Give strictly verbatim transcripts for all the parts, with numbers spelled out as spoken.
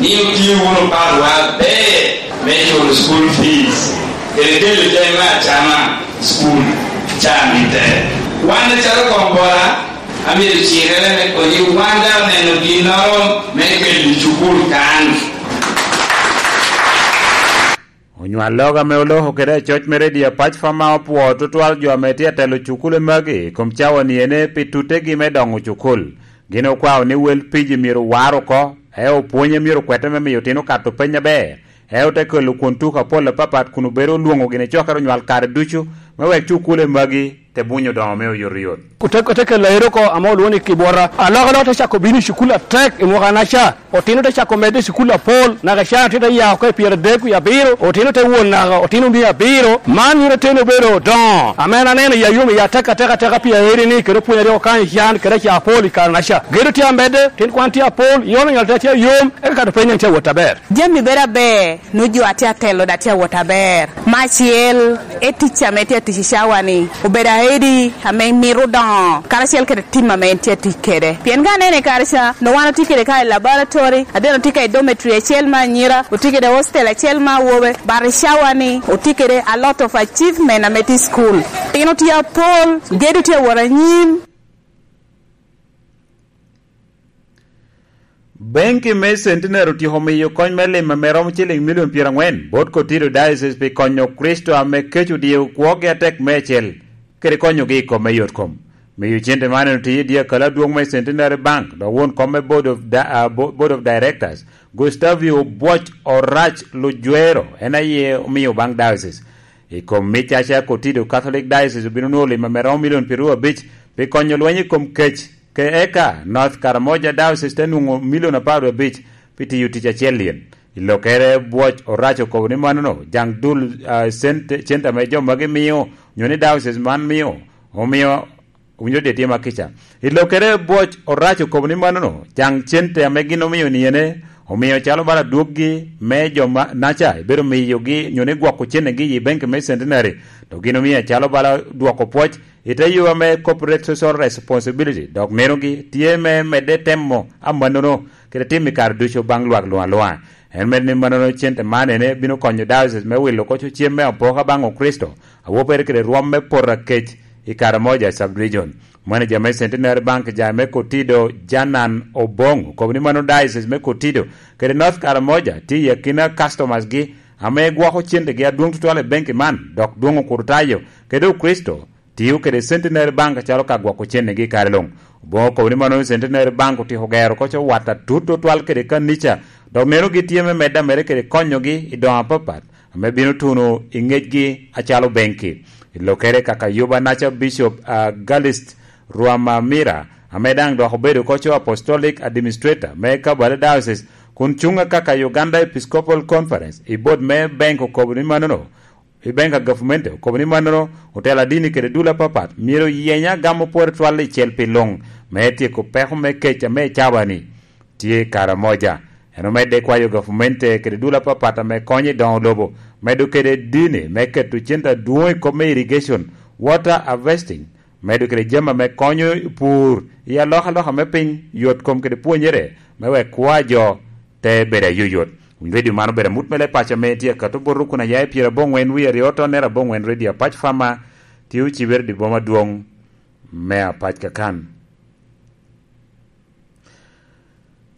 Ni otio wunu parwa aber me culo school fees, kede kelo jami me acama i school, can i te. Wan acalo kombora, amito cikere me konyi wan daŋ neno ginnoro me kelo i cukul kan. Onywal log ame oloko kede acoc me redio apac Fama opwoo tutwal jo ame tye atelo cukule magi i kom cawa ni ene pi tutegi me doŋo cukul. Gin okwao ni wel pici myero war oko, e opwonye myero kwete me miyo otino kato peny aber, e ote kelo kwon tuko apol apapat kun obedo olwoŋo gin icokere onywal kare ducu me wek cukule magi te bunyo doŋo me oyotoyot. Ote, ote kelo aero oko ame olwoŋo ni kibwota. Alokaloka te cako bino i cukul atek i mwaka naca. Otino te cako medde i cukul apol, naka can tye te ya oko i pyeradek wie abiro, otino te wot naka otino mia abiro. Man nyuto teni obedo odoŋo, ame en aneno i ayom i atek atek ateka pi aeri ni, kede opwony aryo kany i can, kede aca apol i kare naca. Gedo tye amedde, tin kwan tye apol, yolo nyal te tye ayom, eka kato peny en tye awot aber. Jami bedo aber, nwoŋo jo a tye atelo daŋ tye awot aber. Me acel, e tic ame tye atic i cawa-ni, obedo aedi ame mito doŋo, karacel kede tim ame en tye atic kede. Pien ka aneno i kare ca, nwoŋo wan otye kede ka i laboratory, adeno otye ka i dormitory acel me anyira, otye kede hostel acel me awobe, but i cawa-ni, otye kede a lot of achievement ame tye i school. Pien otye apol, gedo tye awot anyim. Benki me Centenary otyeko miyo kony me lim ame romo ciliŋ milion pyeraŋwen bot Kotido Diocese pi konyo Kricito ame kec odiko kwogi atek meicel, kede konyogi i kom me yot kom. Miyo cente man en otiye i dyekal adwoŋ me Centenary Bank, dok won kom me Board of Di-, ah, Bo-, Board of Directors, Gustavio Bwoc Orac Lujwero, en aye omiyo baŋ Diocese. I kom miccaca, Kotido Catholic Diocese obino nwoŋo lim ame romo milion pyeraryo abic pi konyo lweny i kom kec. Ke eka, North Karamoja Diocese te nwoŋo milion apar wie abic pi tiyo tic acel lyen. I lokere, Bwoc Orac okobo ni manono, jaŋ dul, ah, cente, cente ame jo magi mio, onyo ni diocese man mio, omio, owinyo dye tye ma kica. I lokere, Bwoc Orac okobo ni manono, jaŋ cente ame gin omio ni ene, omio calo bala dwoggi me jo ma, naca, ebedo miyogi, onyo ni gwoko cennegi i benki me Centenary, to gin omio calo bala dwoko pwoc, i te yo ame corporate social responsibility, dok nenogi tye me medde temo amannono kede tim i kare ducu baŋ lwak luŋ aluŋa. En medo ni mannono cente man ene bino konyo diocese me wilo koc ocem me apoka baŋ Okricito, a wopere kede rwom me poto akec i Karamoja Subdivision. Manager me Centenary Bank, ja me Kotido, Janan Obong, okobo ni mano diocese me Kotido kede North Karamoja tye i akina customers gi ame gwoko centegi adwoŋ tutwal i benki man, dok dwoŋo Okricito kede Okricito tio kede Centenary Bank acalo ka gwoko cennegi i kare luŋ. Obong okobo ni mano Centenary Bank otyeko gero koc owat atut tutwal kede kanica, dok neno gitye me medde amedde kede konyogi i doŋo apapat ame bino tuno i ŋecgi acalo benki. I lokere, Kaka Yuba Naca Bishop, ah, Galist Rwamamira, ame daŋ dok obedo koc Apostolic Administrator me Kabale Diocese, kun cuŋ Kaka Uganda Episcopal Conference i bot me bank, okobo ni manono, i benk a gavumenti okobo ni manono, otelo adini kede dul apapat myero yeny agamo pwod twal icel pi luŋ me tyeko peko me kec ame i cawa-ni tye i Karamoja. En omedde kwayo gavumenti kede dul apapat ame konyo i doŋo lobo, medo kede dini me keto cente adwoŋ i kop me irrigation, water harvesting, medo kede jami ame konyo i pur i alokaloka me piny, yot kom kede pwonyere, me wek kwo a jo te bedo ayoyot. Winy redio man obedo amut me leb paco ame tye akato bot rukun aya i pyeraboŋwen wie aryo tonnere aboŋwen, redio apac Fama, tye ocibere i boma adwoŋ me apac kakan.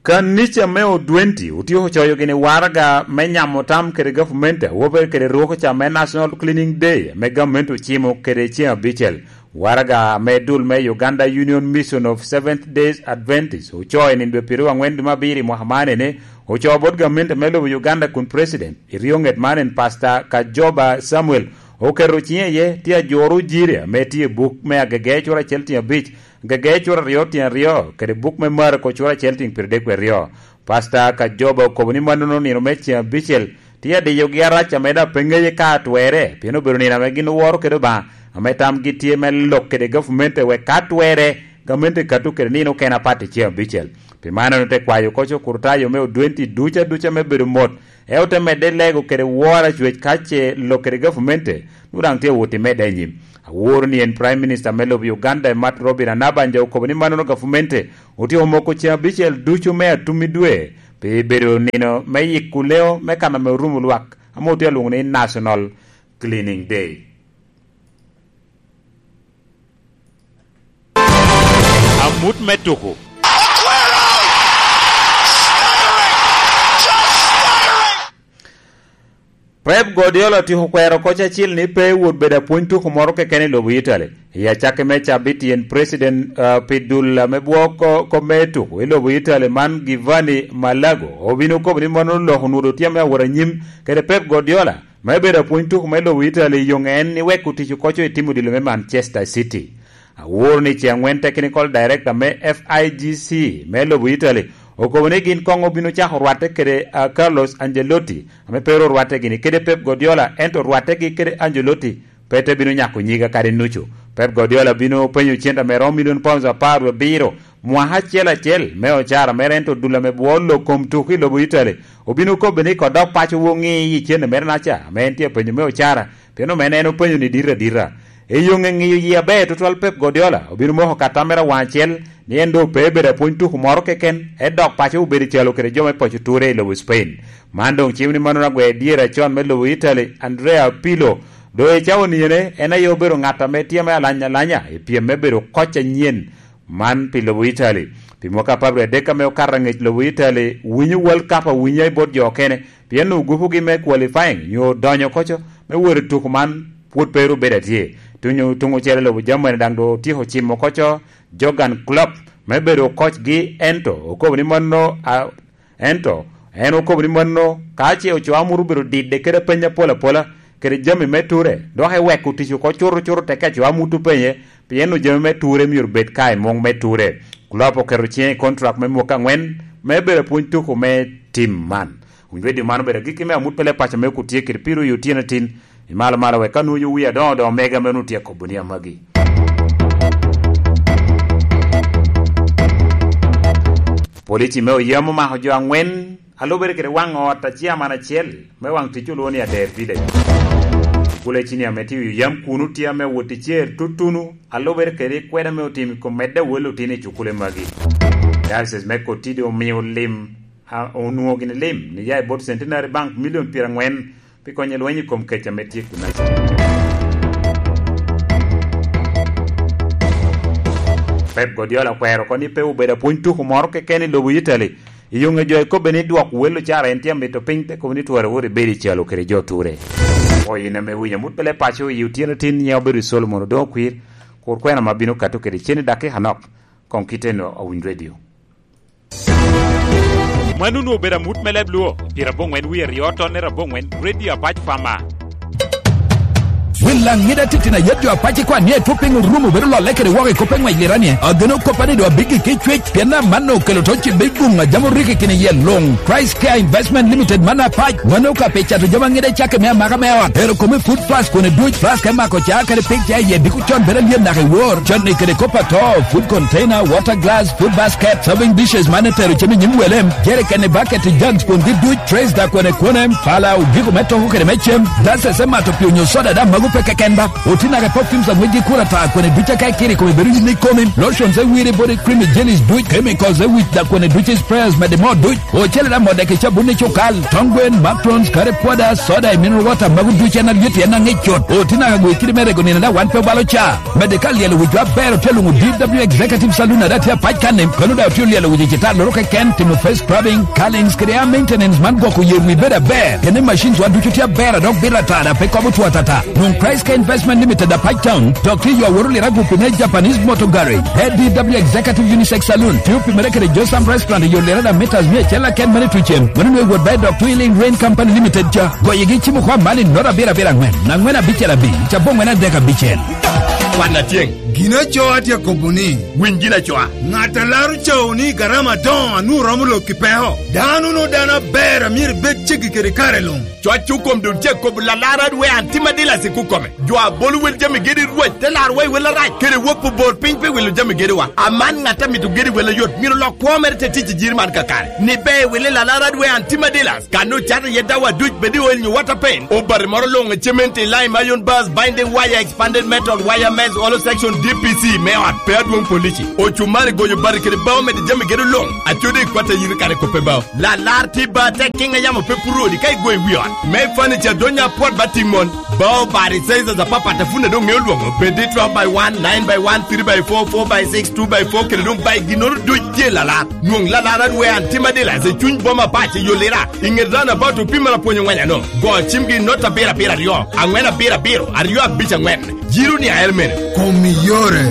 Kanica me Odwenti otyeko coyo gini waraga me nyamo tam kede gavumenti a wopere kede rwoko ca me National Cleaning Day ame gavumenti ocimo kede ceŋ abicel. Waraga ame dul me Uganda Union Mission of Seventh Day Adventists ocoo i nino dwe pyeraryo angwen dwe me abiro i mwaka man ene, ocoo bot gamente me lobo Uganda kun President i ryo ŋet man en Pastor Kajoba Samuel oketo ciŋe iye, tye ajuro ojiri ame tye i buk me Agege cura acel tiŋ abic, Agege cura aryo tiŋ aryo, kede buk me Marko cura acel tiŋ pyeradek wie aryo. Pastor Kajoba okobo ni manono nino me ceŋ abicel tye adiyogi arac ame daŋ pe ŋeye ka atwere, pien obedo nino ame gin oworo kede Obaŋa, ame tamgi tye me lok kede gavumenti wek ka atwere, gavumenti kato kede nino kene apat i ceŋ abicel. Pi man en ote kwayo koc okurutayo me Odwenti duca duca me bedo mot, e ote medde lego kede woro acwec ka ce lok kede gavumenti nwoŋo daŋ tye awot i medde i nyim. Aworo ni en Prime Minister me lobo Uganda, Matt Robin Anabanja, okobo ni manono gavumenti otyeko moko ceŋ abicel ducu me atum i dwe, pi bedo nino me yiko leo me kan ame orumo lwak, ame otye alwoŋo ni National Cleaning Day. Amut me tuko. Pep Guardiola otyeko kwero koc acil ni pe ewot bedo apwony tuko moro keken i lobo Italy. I acakki me cabit, en president, ah, pi dul ame bwoko kop me tuko i lobo Italy man, Giovanni Malago, obino kobo ni mano lok onwodo tye ame awot anyim kede Pep Guardiola me bedo apwony tuko me lobo Italy. Yoŋ en ni wek otic okoco i tim odilo me Manchester City. Awor ni ce aŋwen technical director me F I G C me lobo Italy okobo ni gin koŋ obino cako rwatte kede, ah, Carlos Ancelotti, ame pe ru orwatte gini kede Pep Guardiola, ento rwattegi kede Ancelotti pe te bino nyako nyiga kadi nucu. Pep Guardiola bino penyo cente ame romo milion pounds apar wie abiro mwaka acel acel me ocara mere, ento dul ame bwolo lok kom tuko i lobo Italy obino kobbe ni kodok paco woŋi i cente mere naca ame en tye apenyo me ocara, pien omene en openyo ni dito adita. I yoŋe ŋiyo yie aber tutwal, Pep Guardiola obino moko ka tam mere awaŋ acel ni en doŋ pe bedo apwony tuko moro keken, en dok paco obedo calo kede jo me paco ture i lobo Spain. Man doŋ cimo ni mannono agwer dyere acon me lobo Italy, Andrea Pirlo, doŋ i cawa oniyene en aye obedo ŋat ame tye ame alany alanya i pyem me bedo koc anyen man pi lobo Italy. Pi mwaka apar wie adek ame okato aŋec, lobo Italy winyo World Cup awinya i bot jo okene, pien ogupogi me qualifying nyo donyo koco me wot i tuko man pwod pe ru bedo atye. Tuŋ, tuŋ ocele lobo Germany daŋ doŋ otyeko cimo koco Jurgen Klopp me bedo kocgi, ento okobo ni mano, a, ento en okobo ni mano ka ce ocoo amut obedo dide kede apeny apol apola kede jami me ture, dok eweko tic oko cuto cuto teke acoo amut openye, pien jami me ture myero bed ka i muŋ me ture. Klopp oketo ciŋe i kontrak me mwaka aŋwen me bedo apwony tuko me tim man. Winy redio man obedo agikki me amut pele paco me okutye kede piro i otyeno tin i malo malo, wek ka nwoyo wi adoŋo doŋo mega me nutye akobo ni amagi. Polici me oyam omako jo aŋwen a lubere kede waŋ ot a ciaman acel me waŋ tic olwoŋo ni Ader Village. Cukule cinia ame tye i oyam kuno tye ame wot i cer tuttunu, a lubere kede kweda ame otim i kom medde wel otino i cukule magi. Diocese me Koti doŋ omio lim, a, onwoŋo gini lim ni ya i bot Centenary Bank milion pyeraŋwen pi konyo i lweny i kom kec ame tye kunaca. Pep Guardiola okwero oko ni pe obedo apwony tuko moro keken i lobo Italy. I yoŋe jo ikobbe ni dwok wel ocara en tye amito piny, te kobo ni twara wot ibed i calo kede jo ture. O, in ame winyo amut pele paco i otyeno tin, nyiŋa obedo i Solomon Odoŋo Kwir, kur kwena ma bino kato kede cen i dakika anok, koŋ kite no awiny redio. Mano onwoŋo obedo amut me leb Luo, pyeraboŋwen wie aryo tonne raboŋwen, Radio Apac Pama. Wil Laŋida titino ayet jo Apac ikwan ni etwo piny orumo bedo lolle kede woko i kop me ŋwec liranie. Ageno kop a ni doŋ abiggi ki cwec, pien amanno okelo to cibbe i guŋ a jam orikki kine yie luŋ. Christ Care Investment Limited man Apac, mano ka pe cato jami aŋida i cakke me amaka me ot, ero kome food flask kone duc, flask me mako ca kede pik ca iye diko con bedo alyet naka i wor, con i kede kop ato, food container, water glass, food basket, serving dishes man etero cem i nyim wele, jereken i bucket, jugs kwongi duc, trays da kwene kwene, pala, ogiko me toko kede me cem, glasses me mato pi onyo soda da mago pe keken ba. Oti naka perfumes a ŋwecgi kur ata kwene duc aka ikiro i kome bedo yin ikomi, lotions e wiri, body cream, jellies duc, chemicals e wic da kwene duc, sprayers mede mo duc, ocele da mo dek i cabun i cukal, tong gwen, macarons, curry powder, soda i mineral water mago duc en alyet en aŋic cut. Oti naka gwe kidi me rego nino da wan pe obalo ca. Mede ka lyelo wic wa ber, otye luŋo D W Executive Saloon ada tye apac kan-ni, kono da otye lyelo wic i cita loro keken, timo face scrubbing, curlings kede hair maintenance man gwoko yer wi bedo aber. Kene machines wa ducu tye aber, a dok bito ata da pe kobo two atata. Nwoŋ Christ Care Investment Limited Apac Town, dok tye yo aworo lira gupi me Japanese Motor Garage. A D W Executive Unisex Saloon, tye opimere kede Josam Restaurant i yo lira da meters mia acel aken mane tucem. Mano nwe wot ba i dok Twin Lane Rain Company Limited ca. Goyegi cimo kwa mali nota abiro abiro aŋwen, aŋwen abicel abic, capo aŋwen adek abicel. Kwan atyeŋ. Gin acoa tye akobo ni, winy gin acoa. Ŋat a laro cawu ni garama adoŋo anwoŋo romo lok i peko. Dano no dano aber a myero ibed ceggi kede kare luŋ. Cwac Cukom doŋ tye akobo lalar adwe an tim adila i kukome. Jo a bolo wel jami gedi Rwot te laro wa i wel arac, kede wok obor piny pi wilo jami gediwa. Aman ŋat a mito gedi wel ayot myero lok kwo mere te tic i jiri man kakare. Ni be wili lalar adwe an tim adila. Kan ocato iye dawa duc, bed i oil nyo water paint, obati moro luŋ, cement, lime, iron bars, binding wire, expanded metal, wire mesh, hollow section, D P C me ot pe adwoŋ polici. Ocumari goyo bati kede bao mede jami gedo luŋ. Acodo i kwat a yito kare kop pe bao. Lalar tye ba tek kiŋ a yamo pe puro odi ka igoyo i wi ot. Me furniture donyo apwot ba tiŋ mon. Bao bati sizes apapat a fun a doŋ ŋeo lwoŋo. Bed i twelve by one, nine by one, three by four, four by six, two by four kede doŋ by ginnoro duc tye lalar. Nwoŋ lalar adwe an tim adila i cuny boma pac i Yolira. I ŋet roundabout opimere apwony oŋweny ano. Go cimgi i not abiro abiro aryo, aŋwen abiro abiro, aryo abic aŋwen. Jiro ni aer mene. Kom i yore.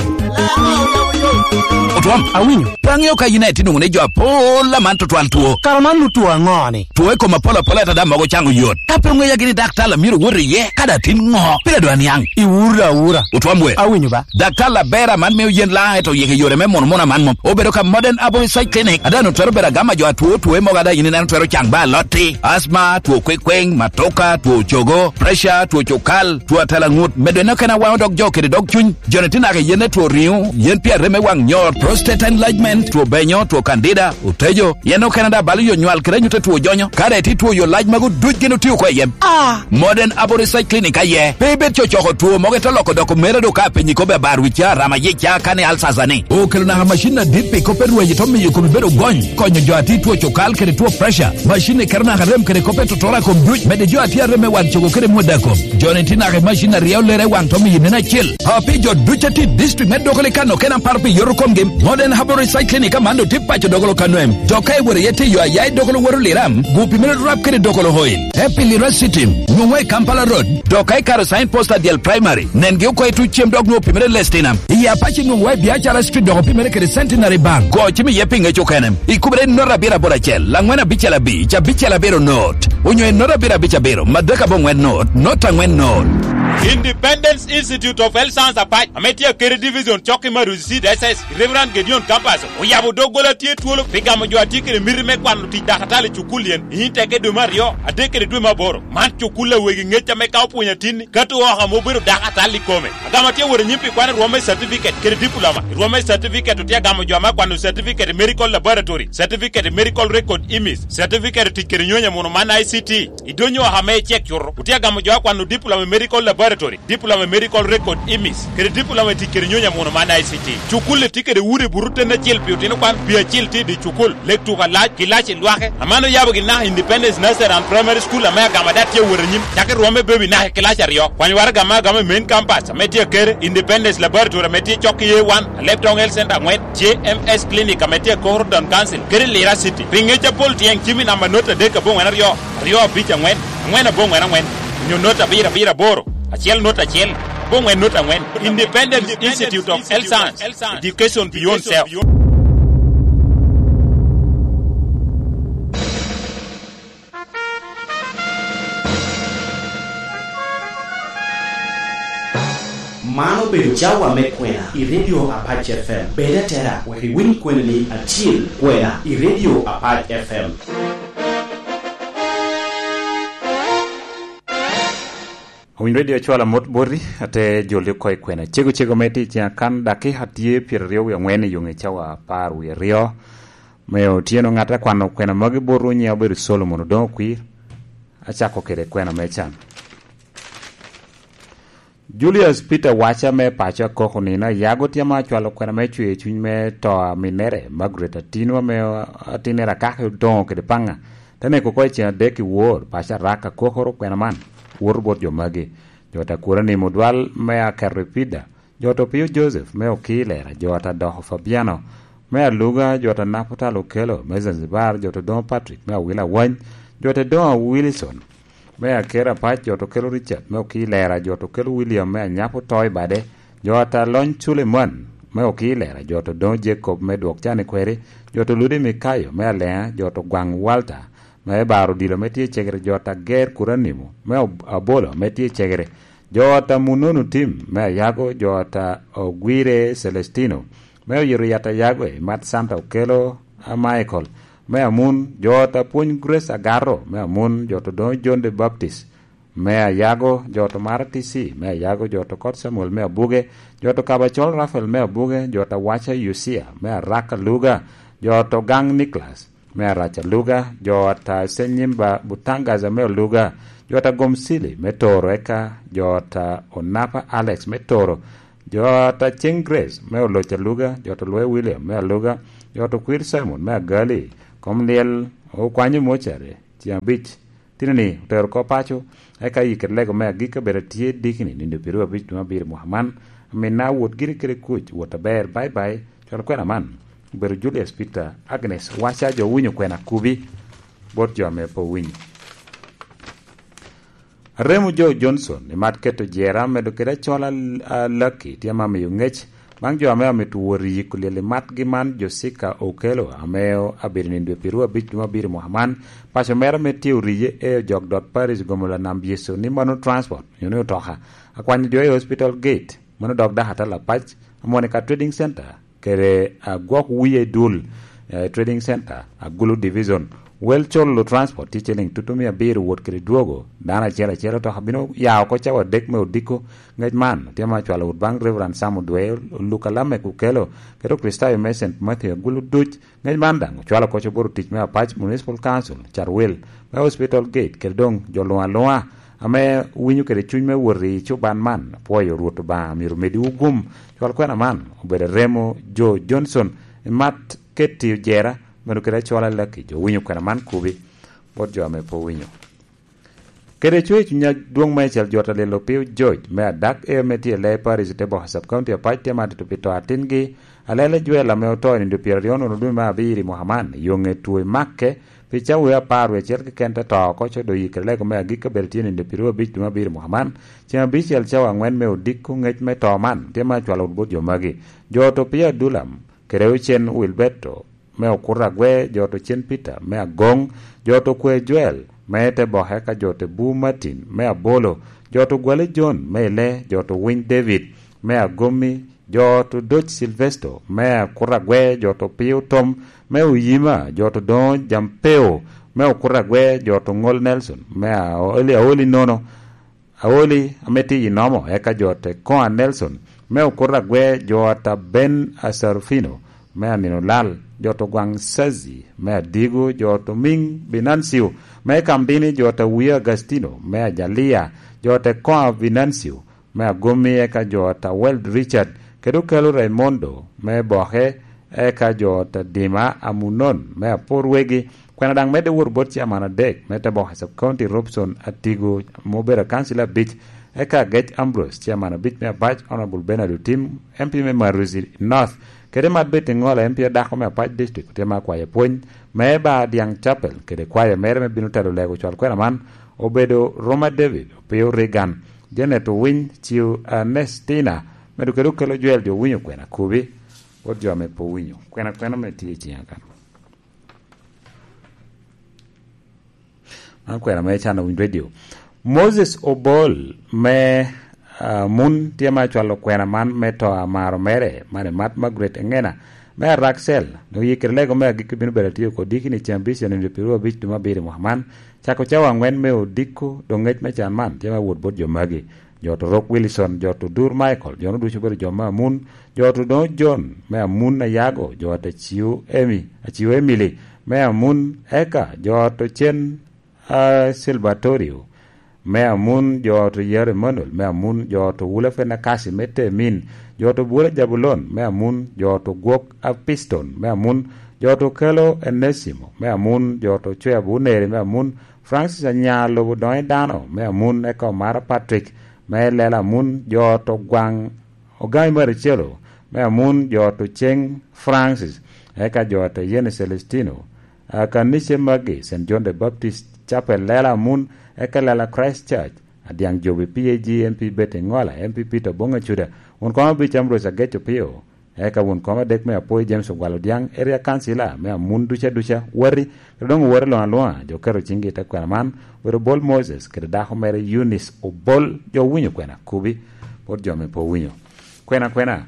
Otwom, awinyo. Pe aŋeo ka yin aye tye nwoŋo ni jo apol aman tutwal two. Kara man nu two aŋo ni? Two i kom apol apol ata dam mogo caŋo yot. Ka pe oŋeya gini daktar a myero wot iye, ka daŋ tin ŋo? Pire dwa niaŋ. Iwura awura. Otwom we. Awinyo ba. Daktar Labera man mio yen laŋ eto yeke yore me mono mono aman mom. Obedo ka Modern Herbal Research Clinic, a dano twero bedo agama jo atwo, two mogo a daŋ yin ineno twero caŋ ba alotti, asma, two kwekweng, matoka, two cogo, pressure, two cukal, two atalaŋut, medo eno kena waŋo dog jo kede dog cuny. Joni tye naka i yen two riŋo, yen pi arem me waŋ nyot, prostate enlargement, two benyo, two candida, otejo, yen okene daŋ balo yo nywal kede anyut a two jonyo. Ka daŋ itye two yo lac magu duc gin otio oko i yem. Ah! Modern Herbal Research Clinic aye. Pe ibed cocoko two mogo ite loko doko mere do ka apenyi kobbe abar wi ca rama ye ca kane alsasa ni. Okelo naka macin adit pi kop erweyi to miyo komi bedo gony, konyo jo ati two cokal kede two pressure. Macin ikero naka rem kede kop etotoro a kom duc, mede jo ati arem me wan cogo kede mwada kom. Joni tye naka i macin aryo lere waŋ to miyo nen acel. A pi jo duc ati district me Dokolo i kano kena paro pi yoto komgi, Modern Herbal Research Clinic aman otye paco Dokolo kano em. Dok ka iwero iye tiyo aya i Dokolo woro Liram, gu pi mere rap kede Dokolo oil. Happy Lira City, nwoŋo i Kampala Road. Dok ka ikaro sign post adyel primary, nengi oko i tuc cem dok nwoŋo pi mere Lestinam. I Apac nwoŋo i Biacara Street dok pi mere kede Centenary Bank. Go cim iye pi ŋec okene. Ikubere i not abiro aboro acel, laŋwen abicel abic, abicel abiro not. Onyo i not abiro abic abiro, madek aboŋwen not, not aŋwen not. Independence Institute of Health Science Apac, ame tye akere division cok i Maruzi Seed S S, Reverend Gideon Kapaso, oyabo doggola tye twolo pi gamo jo a tye kede miti me kwano tic dakatali i cukul yen, i Inteke dwe me aryo, adek kede dwe me aboro. Man cukul a wegi ŋec ame ka opwonyo atinni, ka to oko ame obedo dakatali i kome. Agamo tye wot anyim pi kwano rwom me certificate kede diploma. I rwom me certificate otye agamo jo ame akwano certificate i medical laboratory, certificate i medical record image, certificate i tic kede nyonyo amuno man I C T. I donyo oko ame icek cuto, otye agamo jo akwano diploma i medical laboratory, diploma i medical record image, kede diploma i tic kede nyonyo amuno man I C T. Cukul-li tye kede udi buto ten acel pi otino kwan, pi acel tye i dye cukul, lek tuko alac, kilaci lwake. Aman oyabo gin naka Independence Nursery and Primary School ame agamo daŋ tye awot anyim, cako i rwom me baby naka i kilaci aryo. Kwany waraga ame agamo i main campus ame tye akere, Independence Laboratory ame tye cok i A one, Alebtong Health Center aŋwen, J M S Clinic ame tye akoro Town Council, kede Lira City. Pi ŋec apol tyeŋ cim i namba not adek aboŋwen aryo, aryo abic aŋwen, aŋwen aboŋwen aŋwen, onyo not abiro abiro aboro, acel not acel, aboŋwen not aŋwen. Independent Institute of Health Science, Education Beyond Self. Man obedo cawa me kwena i Radio Apac F M. Bed atera, wek iwiny kwenani acil, kwena i Radio Apac F M. Owiny Radio cwalo amot boti, ate joli oko i kwena. Cego cego me tic i akan dakika tye pyeraryo wie aŋwen i yo ŋe cawa apar wie aryo. Me otyeno ŋat a kwano kwena magi botwu nyiŋe obedo Solomon Odoŋo Kwir. Acako kede kwena me can. Julius Peter Waca me paco Akoko nino ayago tye ame acwalo kwena me cweyo cuny me to a minnere, Margaret Atino ame atinnere akaka Odoŋo kede Paŋa, te neko oko i cen adek i wor paco Arak Akoko oro kwena man, woto bot jo magi. Jo Takura nimo dwal me aketo i Pida, jo Topio Joseph me Okii Lera, jo Tadoko Fabiano me Aluga, jo Tanapo Talo Okelo me Zanzibar, jo Todoŋo Patrick me Awila Awany, jo Todoŋo Wilson me Akera Apac, jo Tokelo Richard me Okii Lera, jo Tokelo William me Anyapo Toi Bade, jo Atalony Suleman me Okii Lera, jo Todoŋo Jacob me Dwok Cani Kweri, jo Toludi Mikayo me Aleŋa, jo Togwaŋ Walter me Baro Odilo ame tye i Cegere, jo Tager Kuranimo me Ob-, Abolo ame tye i Cegere, jo ata Munono Tim me Ayago, jo ata Ogwire Celestino me Oyito Yat Ayago, i Mat Santa Okelo a Michael me Amun, jo ata Pwony Grace Agato me Amun, jo ata Odoŋo John the Baptist me Ayago, jo ata Mara T C me Ayago, jo ata Okot Samuel me Abuge, jo ata Kabacol Rafael me Abuge, jo ata Waca Yucia me Araka Luga, jo ata Ogaŋ Nicholas me Araca Luga, jo ata Senyimba Butangaza me Oluga, jo ata Gomsili me Toro, eka jo ata Onapa Alex me Toro, Jo ata ceng Grace me Oloc Aluga, jo to Lwe William me Aluga, jo to Kwir Simon me Agali, kom lyel okwanyo mocere, ceng abic, tino ni otero oko paco, eka i kede lego me agikki obedo atye dikini nindo pyeraryo abic dwe abiro mwaka man, amina wot giri kede kuc, wot aber, bye bye, cwalo kwena man, obedo Julius Peter Agnes Waca, jo winyo kwena kubi, bot jo ame pe owinyo. Aremo Joe Johnson i mat keto jera medo kede acola a Lucky tye ame amiyo ngec baŋ jo ame amito wot i yiko lyel i matgi man, Josika Okello ame abedo nindo pyeraryo abic dwe abiro mwaka man, paco mere ame tye oriye e ojok dot Paris gomo lanam Yecu ni mano transport onyo ni otoka akwanyo jo i hospital gate, mano dok daka atala pac, Monica Trading Center kede agwok wie dul, eh, Trading Center, Agulu Division. Wel colo transport tye ciling tutu mia abiro wot kede dwogo. Dano acel acel otoka bino ya oko cawa adek me odiko. Ngec man tye ma cwalo wot baŋ Reverend Sam Odwe, Luka Lamek Okelo, kede Okricitayo me Saint Matthew Agulu duc. Ngec man daŋ ocwalo oko bot otic me Apac Municipal Council, Charwil, me Hospital Gate, kede doŋ jo luŋ aluŋa ame winyo kede cuny me wot i cuban man. Apwoyo Rwot Obaŋa, myero omeddiwu gum. Cwal kwena man obedo Aremo Joe Johnson, i mat ketti ojera, medo kede acola Lucky, jo winyo kwena man kubi, bot jo ame pe owinyo. Kede cwer i cuny adwoŋ meicel jo ta lelo Opio George me Adak, e ame tye i Lea Parish, te Boka Sub County Apac, tye ma atito pi to atingi, Alele Jwel ame oto i nindo pyeraryo nono dwe me abiro i mwaka man, yo ŋe two i Makke, pi cawa apar wie acel keken te to oko, co doŋ yikere lego me agikki obedo tye nindo pyeraryo abic dwe me abiro i mwaka man, ceng abicel cawa aŋwen me odiko. Ngec me to man tye ma acwalo wot bot jo magi. Jo to Opio Adulam, kede Ocen Wilberto, me Okuta Agwe, jo to Cen Peter me Agoŋ, jo to Kwe Joel me Te Boke, ka jo to Bu Martin me Abolo, jo to Gwale John me Ile, jo to Winy David me Agomi, jo to Doc Silvesto me Okuta Agwe, jo to Pio Tom me Oyima, jo to Doŋo Jampeo me Okuta Agwe, jo to Ŋol Nelson me Aoli, Aoli Nono, Aoli ame tye i Nomo, eka jo te Koa Nelson me Okuta Agwe, jo ata Ben Asarufino me Amino Lal, jo to Gwaŋ Sazi me Adigo, jo to Miŋ Binancio me Kambini, jo ta Wia Agastino me Ajalia, jo te Koa Binancio me Agomi, eka jo ta Weld Richard, kede Okelo Raimondo me Boke, eka jo ta Dima Amunon me Apor Wegi. Kwena daŋ medde wot bot ciaman adek me te Boka Sub County, Robson Atigo, ame obedo kancila abic, eka Agec Ambrose, ciaman abic me Apac, Honorable Bernard Otim, M P me Maruzi North, kede Mat Betty Ŋola, M P adako me Apac District, tye ma kwayo pwony me Bar Diaŋ Chapel, kede kwayo mere me bino telo lego cwal kwena man, obedo Roma David, Opio Reagan, Janet Owiny, Ciu Ernestina, medo kede Okelo Joel, jo winyo kwena kubi, bot jo ame pe owinyo. Kwena kwena me tye i ciŋa kan. Man kwena me Channel Winy Radio. Moses Obol me, ah, Mun tye ma cwalo kwena man me to amaro mere, man i Mat Margaret Engena me Araksel, oye kede lego me agikki bino bedo atye oko diki ni cen bici onindo pyeraryo abic dwe me abiro i mwaka man, cako cawa aŋwen me odiko, doŋ ngec me can man tye ma wot bot jo magi. Jo to Rok Wilson, jo to Dur Michael, jo no ducu obedo jo me Amun, jo to Doŋo John me Amun Ayago, jo to Aciu Emi, Aciu Emily me Amun, eka jo to Cen, ah, Silvatorio me Amun, jo to Yar Emmanuel me Amun, jo to Wula Fenakasi me Temin, jo to Bula Jabulon me Amun, jo to Gwok Apiston me Amun, jo to Kelo Enesimo me Amun, jo to Cwe Abuneri me Amun, Francis Anya Lobo Doŋe Dano me Amun, eka Omara Patrick me Lela Amun, jo to Gwaŋ Ogaŋi Maricelo me Amun, jo to Ceng Francis, eka jo to Yene Celestino, a, kanice magi, Saint John the Baptist Chapel, Lela Amun, eka Lela Christ Church, Adiaŋ Jobi, P A G, M P Betty Ŋola, M P Peter Oboŋ Acuda, wun kono abic Ambrose Ageco Pio, eka wun kono adek me Apoi James Ogwal Odiaŋ, area councilor me Amun duca duca, wati, kede doŋ owati luŋ aluŋa, jo keto ciŋgi i te kwena man, obedo Obol Moses, kede dako mere Eunice Obol, jo owinyo kwena kubi, bot jo me pe owinyo. Kwena kwena,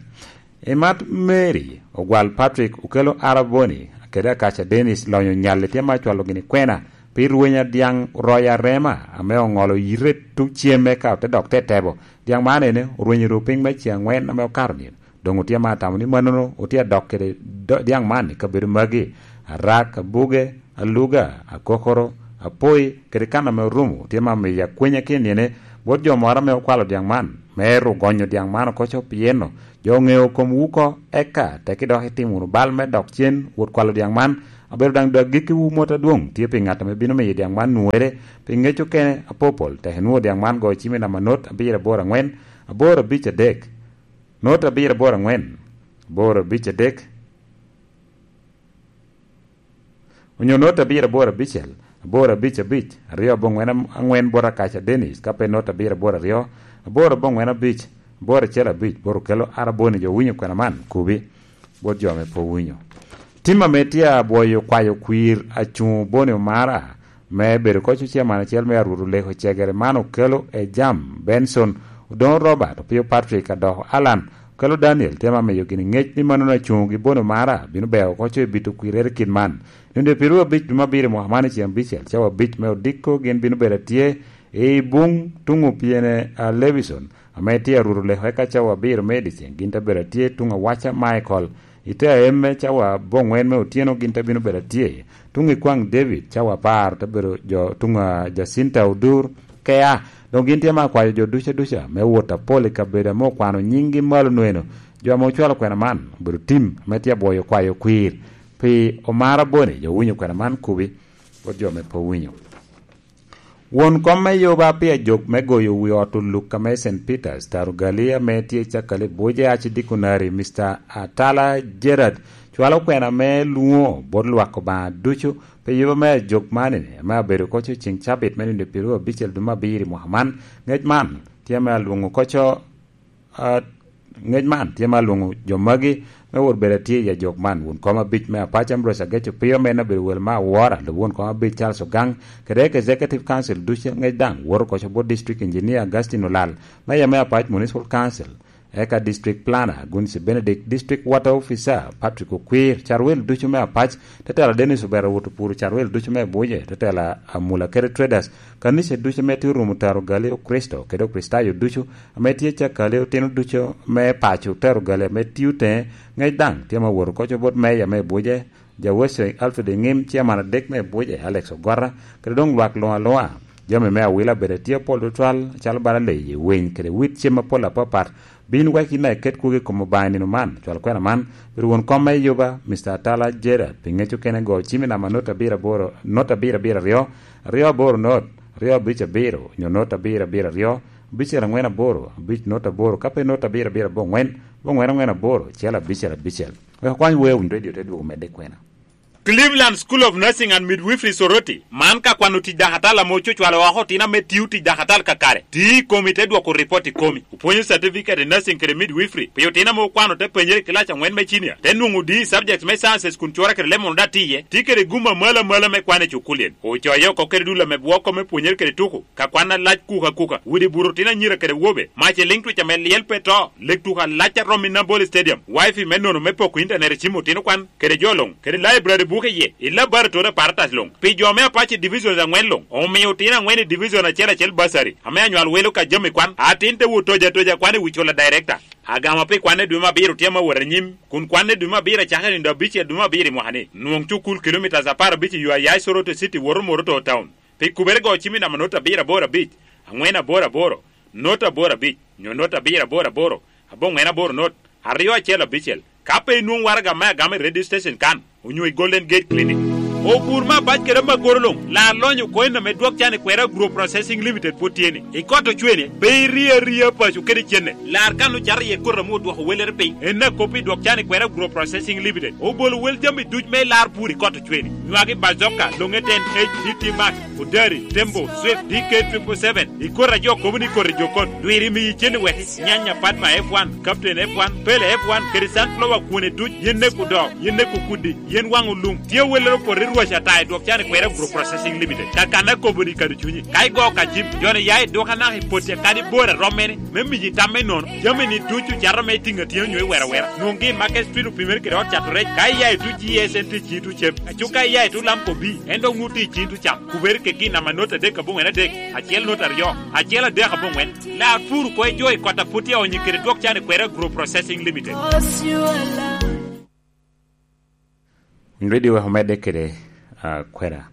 I mat Mary, Ogwal Patrick, Okelo Araboni, kede Akaca Dennis, lonyo nyalli tye ma cwalo gini kwena pi rweny Adiaŋ Roya Rema, ame oŋolo yite tuk cem eka ote dok te tebo. Diaŋ man ene orwenyo ru piny me ceng aŋwen ame okato nino. Doŋ otye ma atamo ni mannono otye adok kede do-, diaŋ man i kabedo magi, Arak, Abuge, Aluga, Akokoro, Apoi, kede kan ame orumo, tye ma miyo akwenya ki nine Bot jo moro ame okwalo dyaŋ man, me ru gonyo dyaŋ man oko co, pien jo oŋeo komwu oko, eka teki dok itimo wunu bal me dok cen wot kwalo dyaŋ man. Abedo daŋ dok agikkiwu mot adwoŋ tye pi ŋat ame bino miyo dyaŋ man nwoŋere pi ŋec okene apopol. Tek inwoŋo dyaŋ man goyo cim i namba not abiro aboro aŋwen, aboro abic adek, not abiro aboro aŋwen, aboro abic adek, onyo not abiro aboro abicel, aboro abic abic, aryo aboŋwen aŋwen bot Akaca Dennis, ka pe not abiro aboro aryo, aboro aboŋwen abic, aboro acel abic, bot okelo. Ara boni jo winyo kwena man, kubi bot jo ame pe owinyo. Tim ame tye abwoyo kwayo kwir acuŋ boni omara, me bedo koc ocaman acel me arwot oleko cegere man okelo Ejam Benson, Odoŋo Robert, Opio Patrick, Adoko Alan, okelo Daniel, tye ma miyo gini ŋec ni manono acuŋ gi bono mara bino beo oko co i bito kwirere kit man. Nino pyeraryo abic dwe me abiro i mwaka man i ceng abicel, cawa abic me odiko gin bino bedo atye i buŋ tuŋ opyene a Levison, ame tye arwot oleko, eka cawa abiro me dyeceŋ gin te bedo atye tuŋ awaca Michael. I te aemme cawa aboŋwen me otyeno gin te bino bedo atye tuŋ i kwaŋ David, cawa apar te bedo jo tuŋ a Jacinta Odur Kea. Doŋ gin tye ma akwayo jo duca duca me wot apol i kabedo ame okwano nyiŋgi malo nweno, jo ame ocwalo kwena man obedo tim ame tye abwoyo kwayo kwir pi omara boni. Jo winyo kwena man kubi bot jo ame pe owinyo. Won kom me Yoba pi ajok me goyo wi ot oluk ame Saint Peter's, Tarugali, ame tye i Cakali Buje, Archdikonari, Mister Atala Gerard, cwalo kwena me lwoŋo bot lwak Obaŋa ducu pi Yoba me ajok man, ame abedo koco ceŋ cabit me nino pyeraryo abicel dwe me abiro i mwaka man. Ŋec man tye ame alwoŋo koco A, ŋec man tye me alwoŋo jo magi me wot bedo atye i ajok man. Won kom abic me apac Ambrose Ageco Pio, men abedo wel me awora, lubo won kom abic Charles Ogang, kede Executive Council ducu. Ŋec daŋ woto koco bot District Engineer Augustine Olal, Mayor me apac Municipal Council, eka District Planner Gunsi Benedict, District Water Officer Patrick Okwir, carwel ducu me apac, Tetela Dennis Obero Wot Opuro, carwel ducu me Buje, Tetela Amula kede Traders, kanica ducu ame tye orumo Tarugali, Okricito kede Okricitayo ducu, ame tye Cakali, otino ducu me paco Tarugali ame tio teŋe. Ŋec daŋ tye ma wot oko co bot Meya me Buje, Jawece Alfred Eŋim, Ciaman adek me Buje, Alex Ogora, kede doŋ lwak luŋ aluŋa. Jami me awila bene tye apol tutwal, acalo bala leyi, winy, kede wit cem apol apapat. Bin wek yin a iket kwogo i kom Obaŋa i nino man, cwal kwena man, bedo won kom me Yoba, Mister Atala Jeda, pi ŋec okene go cim i namba not abiro aboro, not abiro abiro aryo, aryo aboro not, aryo abic abiro, onyo not abiro abiro aryo, abicel aŋwen aboro, abic not aboro, ka pe not abiro abiro aboŋwen, aboŋwen aŋwen aboro, acel abicel abicel. Wek okwany weo winy redio te dwogo medde kwena. Cleveland School of Nursing and Midwifery Soroti, man ka kwano tic dakatala ame ococwalo oko otino ame tio tic dakatala kakare. Ti i komi te dwoko ripot i komi. Opwonyo certificate i nursing kede midwifery pi otino ame okwano te penyere i kilac aŋwen me cinia, te nwoŋo D E subjects me sciences kun cura kede lemon daŋ tye iye. Tye kede gum amalo amalo me kwan i cukulien. Ocoye oko kede dul ame bwoko me pwonyere kede tuko, ka kwan alac kuka kuka, widi buto otino anyira kede wobe, mac eliŋ twic ame lyel pe to, lek tuko alac a romo i Nambole Stadium, wifi me nono me poko internet i cim otino kwan, kede jo luŋ, kede library buke iye, i laboratory apparatus luŋ, pi jo me Apache divisions aŋwen luŋ, omio otino aŋwen i division acel acel bursary, ame anywal welo ka jami kwan, atin te wot toja toja kwan i wi cola director. Agama pi kwanne dwe me abiro tye ma wot anyim, kun kwanne dwe me abiro acakere nino abicel dwe me abiro i mwaka-ni. Nwoŋ cukul kilomitas apar abic i yo a ya i Soroti City woto Moroto Town. Pi kubere go cim i namba not abiro aboro abic, aŋwen aboro aboro, not aboro abic, nyo not abiro aboro aboro, aboŋwen aboro not, aryo acel abicel. Ka pe inwoŋ waraga me agama i radio station kan, onyo i Golden Gate Clinic. Ogur me abac kede amagoro luŋ, lar lonyo coin ame dwok can i kwera Agro Processing Limited pwod tye ni. I kot ocwene, pe iri aria paco kede cenne. Lar kan ocato iye koti ame odwoko welere piny. En akop i dwok can i kwera Agro Processing Limited. Obolo wel jami duc me lar pur i kot ocwene. Nywagi bazoka, loŋe ten H D T Max, Odari, Tembo, Swift, D K triple seven. I koti a jo kobo ni koti jo kot. Dwiri miyi cen i weki. Nyanya Padma F one, Captain F one, Pele F one, kede sunflower kwone duc, yen neko do, yen neko kudi, yen waŋ olum. Tye welere opoto i rwac ata i dwok can i kwera Agro Processing Limited. Kakanna kobo ni kado cunyi. Ka igo ka jim, joni ya i duka naka i poti kadi bor a rommene, me miyi tam me nono. Jami ni ducu cato me tiŋ atyeno nyo i wera wera. Nwoŋgi i Market Street opimere kede ot cato rec. Ka iya i tuc G S N T ci tuc cem. Aco ka iya i tuc Lamco B, en dok ŋut i cin tuc cam. Kubere kegi i namba not adek aboŋwen adek, acel not aryo, acel adek aboŋwen. Lar pur oko i jo i kot a pwod tye onyo kede dwok can i kwera Agro Processing Limited. Winy radio wek omedde kede, ah, kwera.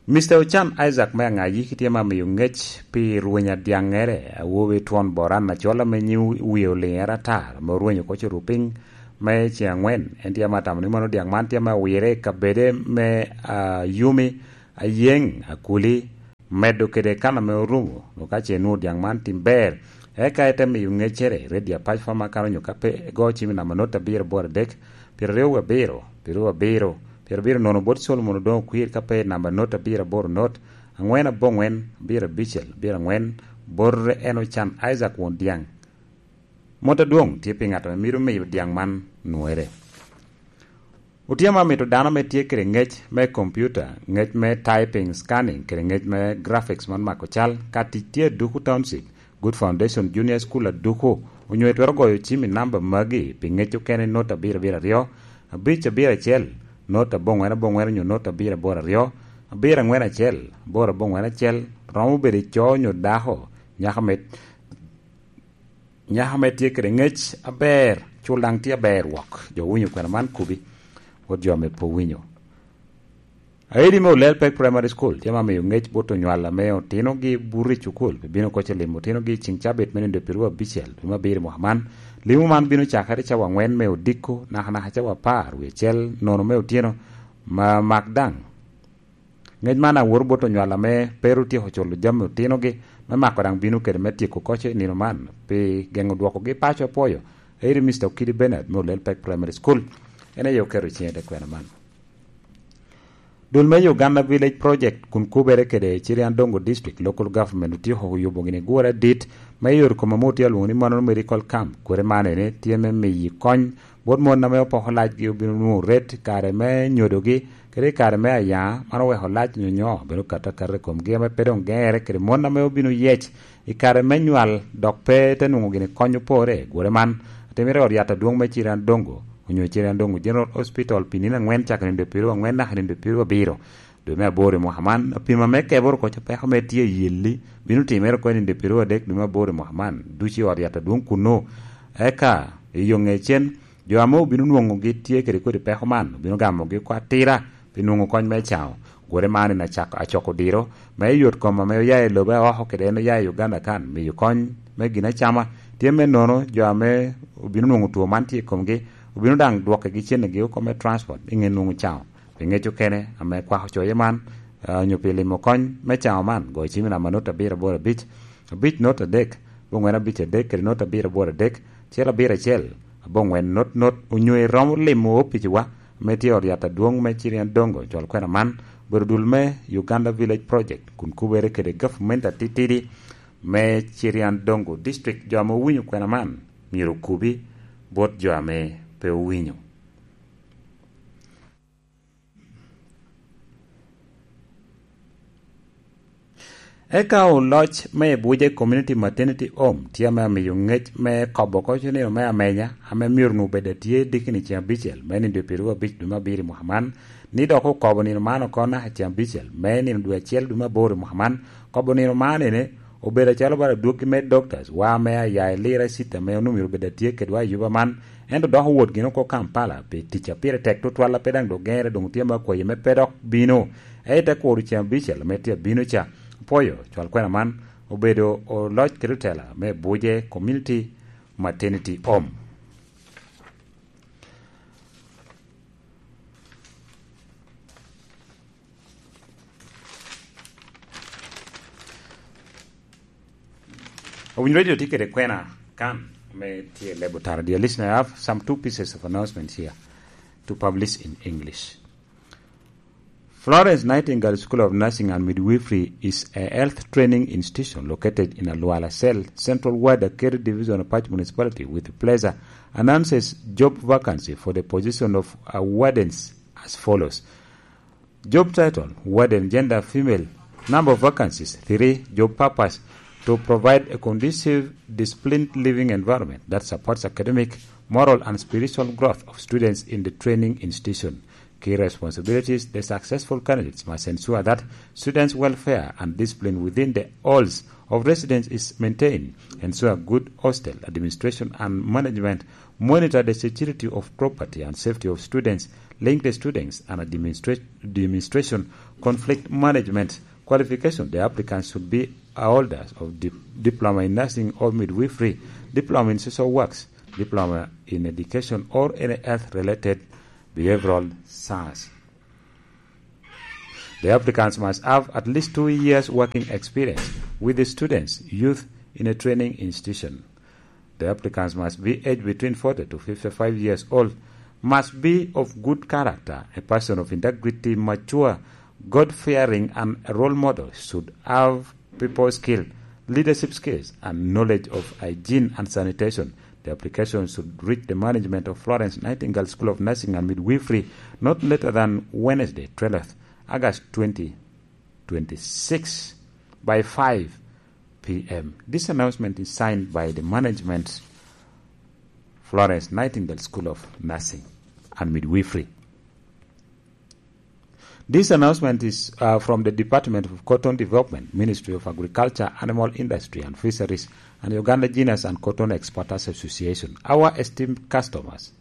Mister Ocan Isaac me Aŋayi tye ma miyo ŋec pi rweny adyaŋŋere, awobi twon Boran acol ame nyiŋ wie oliŋere atar, ame orwenyo oko Curupiny me ceŋ aŋwen. En tye ma tamo ni mano dyaŋ man tye ma owire i kabede me, ah, Yumi, Ayeŋ, Akuli, medo kede kan ame orumo, dok ka ce nwoŋo dyaŋ man tim ber, eka ite miyo ŋeccere i redio apac fam akano nyo ka pe go cim i namba not abiro aboro adek, pyeraryo wie abiro, pyeraryo abiro, pyerabiro nono bot Solomon Odoŋo Okwir ka pe i namba not abiro aboro not, aŋwen aboŋwen, abiro abicel, abiro aŋwen, bot en Ocan Isaac won dyaŋ. Mot adwoŋ tye pi ŋat ame mito miyo dyaŋ man nwoŋere. Otyeno amito dano ame tye kede ŋec me kompiuta, ŋec me typing, scanning, kede ŋec me graphics man mako cal, ka tic tye Aduku Township, Good Foundation Junior School Aduku, onyo itwero goyo cim i namba magi pi ŋec okene, not abiro abiro aryo, abic abiro acel, not aboŋwen aboŋwen onyo not abiro aboro aryo, abiro aŋwen acel, aboro aboŋwen acel, romo bedo i co onyo dako, nyako me Nyako ame tye kede ŋec aber, cul daŋ tye aber wok. Jo owinyo kwena man kubi, bot jo ame pe owinyo. Aidi me Olel Pek Primary School tye ma miyo ŋec bot onywal ame otinogi buto i cukul pi bino koc i limo otinogi i ceŋ cabit me nino dwe pyeraryo abicel dwe me abiro i mwaka man. Limo man bino cakere cawa aŋwen me odiko, nakanaka cawa apar wie acel nono me otyeno, ma mak daŋ Ŋec man awoto bot onywal ame pe ru tyeko culo jami otinogi me mako daŋ bino kede me tyeko koc i nino man pi geŋo dwokogi paco apwoyo. Airi Mister Okidi Bernard me Olel Pek Primary School, en aye oketo ciŋe i te kwena man. Dul me Uganda Village Project kun kubere kede Cirian Dongo District Local Government otyeko yubo gini gure adit me yot kom ame otye alwoŋo ni Manual Medical Camp. Kore man ene tye me miyi kony bot mon ame opoko lacgi obino nwoŋo ret i kare me nyodogi kede i kare me ayaŋa, man oweko lac nyonyo bedo kato akata i komgi ame pe doŋ geŋere kede mon ame obino yec i kare me nywal dok pe te nwoŋo gini kony opore. Gure man atimere i ot yat adwoŋ me Cirian Dongo onyo Cirian Dongo General Hospital pi nino aŋwen cako nino dwe pyeraryo aŋwen naka nino dwe pyeraryo abiro dwe me aboro i mwaka man. Apima me keboro koc peko me tye i yelli bino timere oko i nino dwe pyeraryo adek dwe me aboro i mwaka man ducu i ot yat adwoŋ kunnu. Eka i yo ŋecen, jo ame obino nwoŋogi tye kede kodi peko man obino gamogi oko atira pi nwoŋo kony me caŋo. Gure man en acako, acoko diro me yot kom ame oya i lobe aoko kede en oya i Uganda kan, miyo kony me gin acama. Tye me nono jo ame obino nwoŋo two man tye i komgi, obino daŋ dwokegi cennigi oko me transport i ŋe nwoŋo caŋo. Pi ŋec okene ame kwako coye man, ah, onyo pi limo kony me caŋo man, goyo cim i namba not abiro aboro abic, abic not adek, aboŋwen abic adek kede not abiro aboro adek, acel abiro acel, aboŋwen not not, onyo iromo limo opiciwa ame tye i ot yat adwoŋ me Cirian Dongo, cwal kwena man, obedo dul me Uganda Village Project, kun kubere kede gavumenti atitidi me Cirian Dongo District. Jo ame owinyo kwena man myero okubi bot jo ame pe owinyo. Eka oloc me Ebuje Community Maternity Home tye ame amiyo ŋec me kobo oko nino me amenya ame myero onwoŋo bed atye dikini ceŋ abicel me nino dwe pyeraryo abic dwe me abiro i mwaka man, ni dok okobo nino man oko naka ceŋ abicel me nino dwe acel dwe me aboro i mwaka man. Kobo nino man ene obedo acalo bala adwoggi me doctors wa ame aya i Lira City ame onwoŋo myero obed atye kedwa i yuba man, ento dok owot gin oko Kampala pi tic a pire tek tutwal a pe daŋ dok geŋere doŋ tye me akwaye me pe dok bino. Ento te kuro ceŋ abicel ame tye abino ca, opwoyo cwal kwena man obedo oloc kede otela me Buje Community Maternity Home. Owinyo Radio tye kede kwena kan me tye lebo tara. Dear listener, I have some two pieces of announcements here to publish in English. Florence Nightingale School of Nursing and Midwifery is a health training institution located in Alwala Cell, Central Ward, Akedo Division, Apac Municipality, with pleasure announces job vacancy for the position of a wardens as follows. Job title, Warden, gender, female. Number of vacancies, three. Job purpose, to provide a conducive, disciplined living environment that supports academic, moral, and spiritual growth of students in the training institution. Key responsibilities, the successful candidates must ensure that students' welfare and discipline within the halls of residence is maintained, ensure good hostel administration and management, monitor the security of property and safety of students, link the students and administra-, administration, conflict management, qualification. The applicants should be holders of dip-, diploma in nursing or midwifery, diploma in social works, diploma in education or any health-related behavioral science. The applicants must have at least two years working experience with the students, youth in a training institution. The applicants must be aged between forty to fifty-five years old, must be of good character, a person of integrity, mature, God-fearing, and a role model, should have people skill, leadership skills, and knowledge of hygiene and sanitation. The application should reach the management of Florence Nightingale School of Nursing and Midwifery not later than Wednesday, twelfth August twenty twenty-six, by five p m. This announcement is signed by the management, Florence Nightingale School of Nursing and Midwifery. This announcement is, uh, from the Department of Cotton Development, Ministry of Agriculture, Animal Industry and Fisheries, and Uganda Genius and Cotton Exporters Association. Our esteemed customers,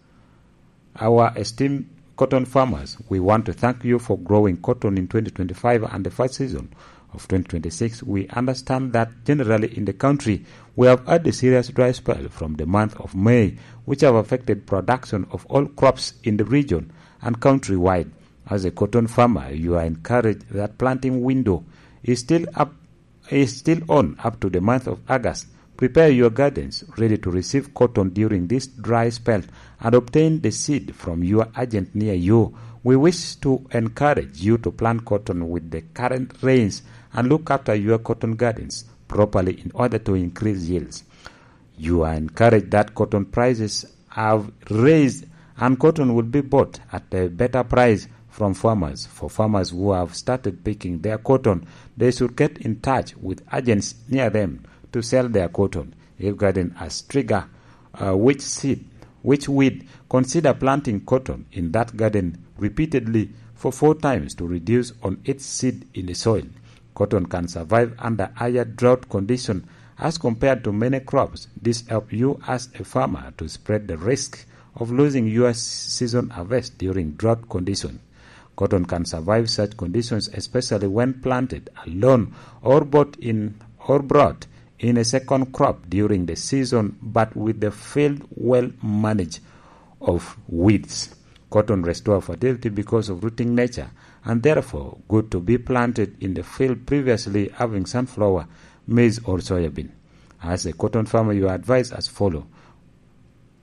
our esteemed cotton farmers, we want to thank you for growing cotton in twenty twenty-five and the first season of twenty twenty-six. We understand that generally in the country, we have had a serious dry spell from the month of May, which have affected production of all crops in the region and countrywide. As a cotton farmer, you are encouraged that planting window is still up, is still on up to the month of August. Prepare your gardens ready to receive cotton during this dry spell and obtain the seed from your agent near you. We wish to encourage you to plant cotton with the current rains and look after your cotton gardens properly in order to increase yields. You are encouraged that cotton prices have raised and cotton will be bought at a better price from farmers. For farmers who have started picking their cotton, they should get in touch with agents near them to sell their cotton. If garden has trigger, uh, which seed, which weed, consider planting cotton in that garden repeatedly for four times to reduce on its seed in the soil. Cotton can survive under higher drought condition as compared to many crops. This help you as a farmer to spread the risk of losing your season harvest during drought condition. Cotton can survive such conditions, especially when planted alone or bought in, or brought in a second crop during the season, but with the field well managed of weeds. Cotton restore fertility because of rooting nature, and therefore good to be planted in the field previously having sunflower, maize, or soya bean. As a cotton farmer, you are advised as follow,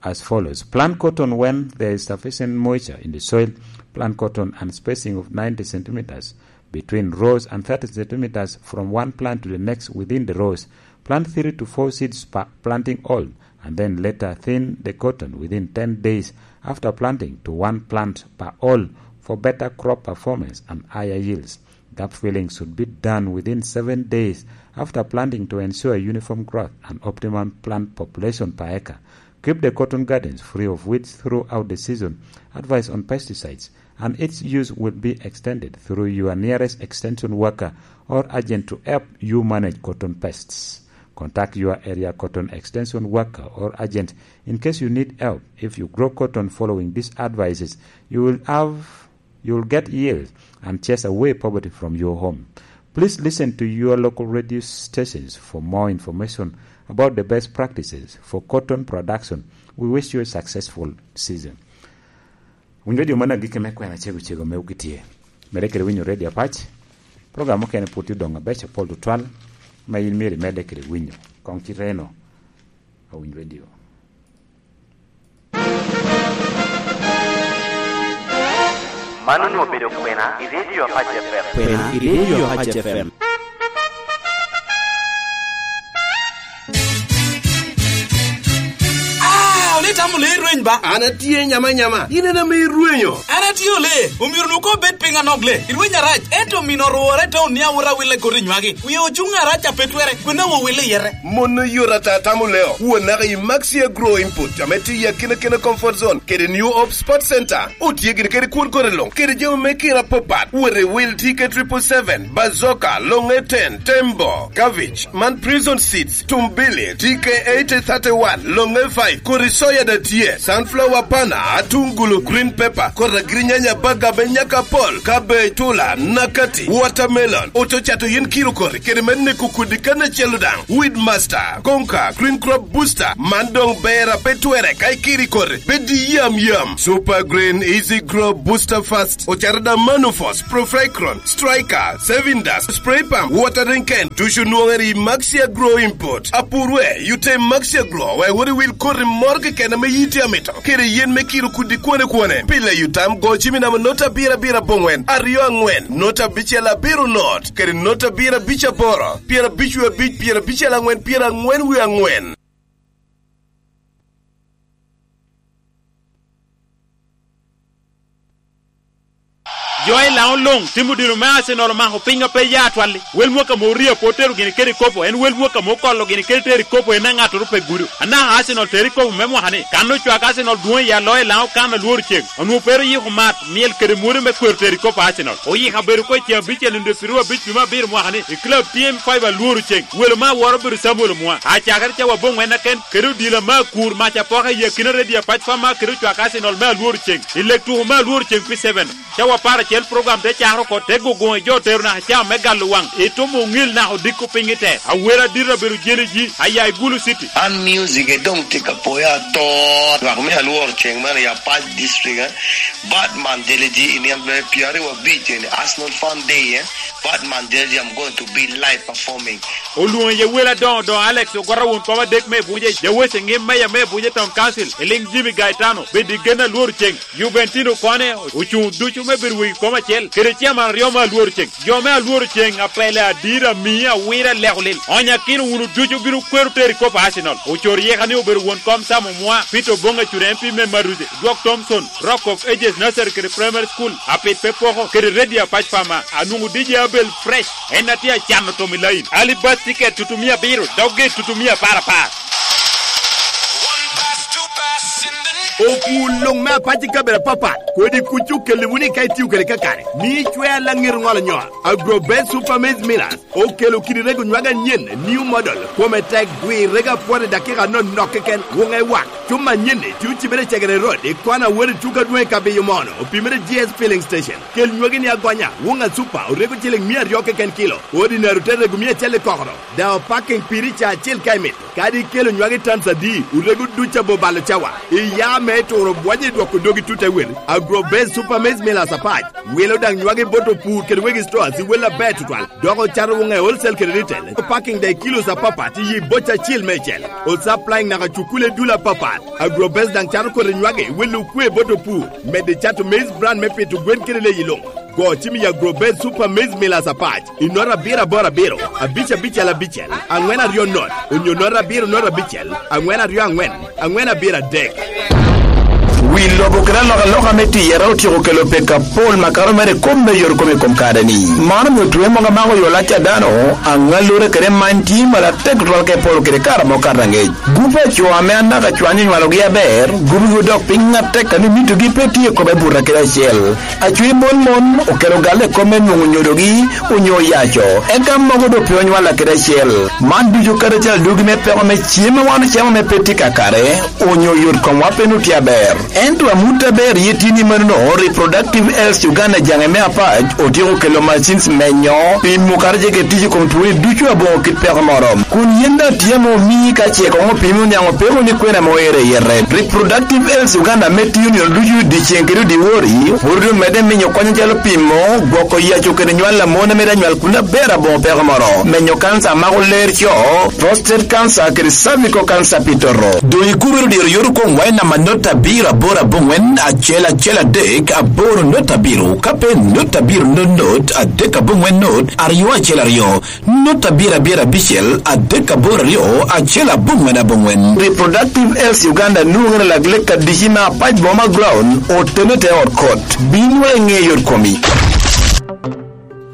as follows. Plant cotton when there is sufficient moisture in the soil. Plant cotton and spacing of ninety centimeters between rows and thirty centimeters from one plant to the next within the rows. Plant three to four seeds per planting hole and then later thin the cotton within ten days after planting to one plant per hole for better crop performance and higher yields. Gap filling should be done within seven days after planting to ensure uniform growth and optimum plant population per acre. Keep the cotton gardens free of weeds throughout the season. Advice on pesticides and its use will be extended through your nearest extension worker or agent to help you manage cotton pests. Contact your area cotton extension worker or agent in case you need help. If you grow cotton following these advices, you will have, you will get yield and chase away poverty from your home. Please listen to your local radio stations for more information about the best practices for cotton production. We wish you a successful season. Winyo redio man agikki me kwena cego cego me wukitye. Mere kede winyo redio apac. Program mukene pwod tye odoŋ abeco apol tutwal, ma in myero imedde kede winyo. Koŋ cite eno, awiny redio. Man onwoŋo obedo kwena i redio Apac F M. Kwena i redio Apac F M. Ah, ole tamo le rweny ba? An atye nyama nyama. In en ame irwenyo. An atye ole. Omyero nu ko bet piny anok le. Irweny arac. Ento mino ruwore to ni awura wille kori nywagi. Wie ocuŋ arac a pe twere. Kwena wo wille yere. Mon oyot ata tamo leo. Wo naka i Maxi Agro Input, ame tye i akina kina comfort zone, kede New Hope Sports Center. Otye gini kede kwon kore luŋ, kede jami me kira apapat. Wot i wil T K triple seven, Bazoka, Longe ten, Tembo, Cabbage, man Prison Seeds, Tumbili, T K eighty thirty-one, Longe five, kodi soya da tye, Sunflower Pana, Atungulu, Green Pepper, kodi girinyanya, baga me nyaka apol, kabej, tula, nakati, watermelon, oto cato yen kiro kori, kede me neko kudi kan acel daŋ. Weedmaster, Konka, Green Crop Booster, man doŋ ber a pe twere ka ikiri kori, bed yam yam. Super Green, Easy Grow, Booster Fast, ocato daŋ Manufos, Profricron, Striker, Saving Dust, Spray Pump, Watering Can, ducu nwoŋere i Maxia Grow Import. Apurwe, yute i Maxia Grow, wek wot iwil koti moro keken ame yiti amito, kede yen me kiro kudi kwane kwane. Pile yutam, go cim i namba not abiro abiro aboŋwen, aryo aŋwen, not abicel abiro not, kede not abiro abic aboro, pyerabic wie abic, pyerabicel aŋwen, pyeraŋwen wie aŋwen. Jo i Laŋo luŋ timo dino me Arsenal omako piny a pe ya atwal-li. Wel mwaka ame orio pe otero gini kede kopo, en wel mwaka ame okolo gini kede tero i kopo en aŋattoro pe gudo. Anaka Arsenal tero i kopo me mwaka-ni, kan ocwak Arsenal dwoŋ i aloc i Laŋo kan alworo ceng. Onwoŋo pe oyiko mat, myel kede mwodo me kwero tero i kopo Arsenal. Oyiko abedo oko i ceŋ abicel nino dwe piru abic dwe me abiro mwaka-ni i club T M five alworo ceng. Welo me awora obedo Samuel Omwa. Acakere cawa aboŋwen keken, kede odila me akur mac apoka i akina redio apac pa mar kede ocwak Arsenal me alworo ceng. I lek tuko me alworo ceng pi seven, cawa apar acel program te cakere oko, te gogoŋ i jo otero naka cawa me galo waŋ. Itumo oŋil naka odiko piny i te. Awera adito abedo Jeni G, aya i Gulu City. An music e doŋ tye ka poya atot. Lwak me alworo ceng meno i Apac District, eh? Batman Jeni G i nino me pyeraryo abic eni Arsenal Fan Day, eh? Batman Jeni G, I'm going to be live performing. Olwoŋo iye wel adoŋo doŋo Alex Ogwata won kom adek me Bunje, Jawece Ŋim Meya me Bunje Town Council, Eliŋ Jimmy Gaetano, bed i gen alworo ceng. Juventino kone ocuŋ ducu me bedo wegi kom acel, kede ciaman aryo me alworo ceng. Jo me alworo ceng apele adira mia awira leko lil. Onyakino wunu ducu bino kwero tero i kop Arsenal. Ocor yeka ni obedo won kom Sam Omwa, Peter Obonga Cura M P me Maruze, Dwok Thompson, Rock of Ages Nursery kede Primary School, apit pe poko, kede redio apac pama, anwoŋo D J Abel Fresh, en a tye acano tom i lain. Early bird ticket tutumia abiro, dogge tutumia apar apar. Opwul luŋ me apac i kabedo apapat, kodi kuc okelli wunu i ka itio kede kakare. Mi icwer laŋet oŋolo nyot. Agro Best Super Maize Millers okelo kidi rego nywage anyen, new model, kome tek, gwir rego apwot i dakika anonok keken, woŋe wak. Cuma anyen-ni tye ocibere i Cegere Road, i kona wot i tuko adwoŋ i Kabiyo Mono, opimere G S Filling Station. Kel nywagi-ni agonya, woŋa Super, orego ciliŋ mia aryo keken kilo, ordinary te rego mia acel i kokoro. Daŋ opaking piri ca acel ka imito. Kadi ikelo nywagi tans adi, orego duc abobalo cawa. Iya me turo bwonyo i dwoko dogi tut ewel. Agro Best Super Maize Millers apac. Wilo daŋ nywagi bot opur kede wegi stores i wel aber tutwal. Dok ocato woŋe wholesale kede retail. Opaking daŋ i kilos apapat i yi boc acil meicel. Osupplying naka cukule dul apapat. Agro Best daŋ cato kodi nywagi, wilo okwe bot opur. Medde cato maize bran me pito gwen kede leyi luŋ. Go cim i Agro Best Super Maize Millers apac i nota abiro aboro abiro, abic abicel abicel, aŋwen aryo not, onyo nota abiro not abicel, aŋwen aryo aŋwen, aŋwen abiro adek. Wi lobo kede alokaloka me tiyere otyeko kelo peko apol makato mere i kom me yot kom i kom kare-ni. Man omio twe mogo amako yo lac a dano, aŋallure kede many tye malatek tutwal ka ipolo kede kare ame okato aŋec. Gupe a co ame anaka cwany onywalogi aber, gupigo dok piny atek a ni mitogi pe tye i kome buta kede acel. Acwiny mon mon okelo galle i kom me nwoŋo nyodogi onyo oyaco, eka mogo doŋ pe onywalla kede acel. Man ducu kadi acel adugi me peko me cem a wan ocamo ame pe tye kakare, onyo yot komwa pe nut tye aber. Ento amut aber ye tye ni manono, Reproductive Health Uganda jaŋe me apac otyeko kelo machines menyo, pimo kadi ce kede tic i kom twoni ducu aboŋo kit peko moro. Kun yen daŋ tye ame omii ka ce koŋ opimi oniaŋ opeko ni kwena ame oero i yete. Reproductive Health Uganda ame tiyo nino ducu dyeceŋ kede dyewor-ri, pwod omedde minyo kony acalo pimo, gwoko yaco kede nywal a mon a myero anywal kun aber aboŋo peko moro, menyo kanca a mako ler co, prostate cancer kede cervical cancer pi toto. Doŋ ikubere dyero yot okoŋ wa i namba not abiro aboro aboŋwen acel acel adek aboro not abiro, ka pe not abiro not not adek aboŋwen not aryo acel aryo. Not abiro abiro abicel adek aboro aryo acel aboŋwen aboŋwen. Reproductive Health Uganda nwoŋere lak lek adici me apac boma ground, otene te ot kot. Bin wa iŋe yot komi.